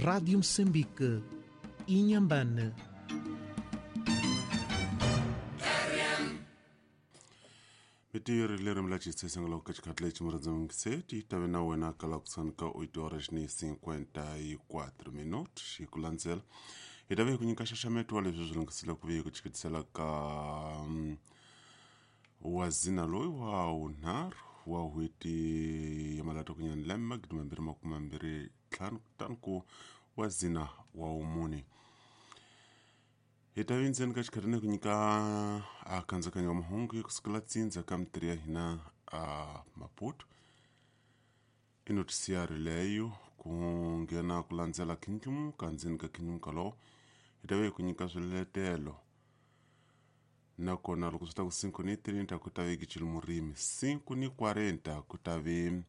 Rádio Moçambique, Inhambane. Mitiri leri mi la xitsesengela ka xikhathi lexi murhandza ti tave na wena ka la kusuhani ka 8 horas ni 54 minutos hi ku landzela hi ta ve hi ku nyika xaxameto wa leswi swi lunghisile ku ve hi ku chikitisela ka wa zina loyi wa wunharhu wa n'hweti ya malata kunyani lembe 2025 kutani ku wa zina wa wumune hi ta ve ndzeni ka xikhathi ni ku nyika a kandzakanyo wa mahungu kusukela tsindza ka mitirho ya hina a Maputo i notisiari leyo ku nghena ku landzela khindlumuka ndzeni ka khindlumuka lowo hi ta ve hi ku nyika swiletelo nakona loko swi ta ku 5 ni 30 ku ta ve gicile murimi 5 ni 40 ku ta ve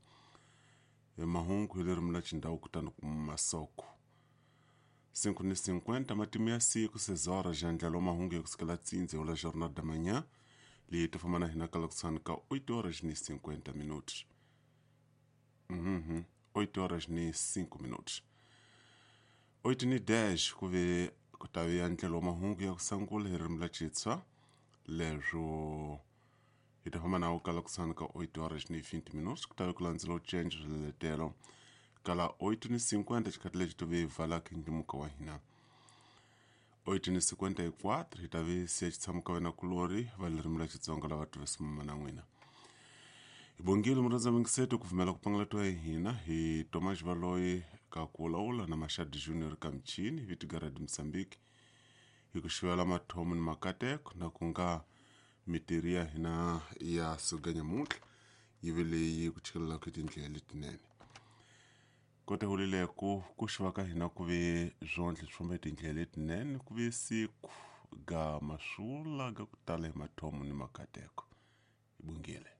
mahungu hi ririmi la xindhawu kutani ku masoko 5 ni 50 matimu ya siku sezora xandlalo mahungu ya kusukela tsindze wala Jornal da Manhã leyi ti famba na hina ka lokusani ka 8 horas ni 50 minutos. 8 horas ni 5 minutos. 8 ni 10 ku ve ku ta ve ndlela wa mahungu ya ku sangula hi ririmi la Xitswa leswo hi ta famba nawo kala kusani ka 8 horas ni 20 minutos ku ta ve ku landzela u change swiletelo kala 8 ni 50 xikhathi lexi to ve hi vala khindlimuka wa hina 8 ni 54 hi ta ve siya xitshamo ka wena kulori va ririmi la Xitsonga lava tivisa na n'wina hi bongile murhandza mingiseto ku pfumela ku pangalatiwa hi hina hi Tomas Valoyi ka ku vulavula na Mashadi Junior ka michini vitigaradi Mozambique hi ku xivela mathomo ni makateko na ku nga mitirhi ya hina ya suka nyamuntlha yi ve leyi ku chikelelaka hi tindlela letinene kota hulile ku xiva ka hina ku ve zwondle swi famba hi tindlela letinene ku ve siku ga masula ga ku tala hi mathomo ni makateko hi bongile.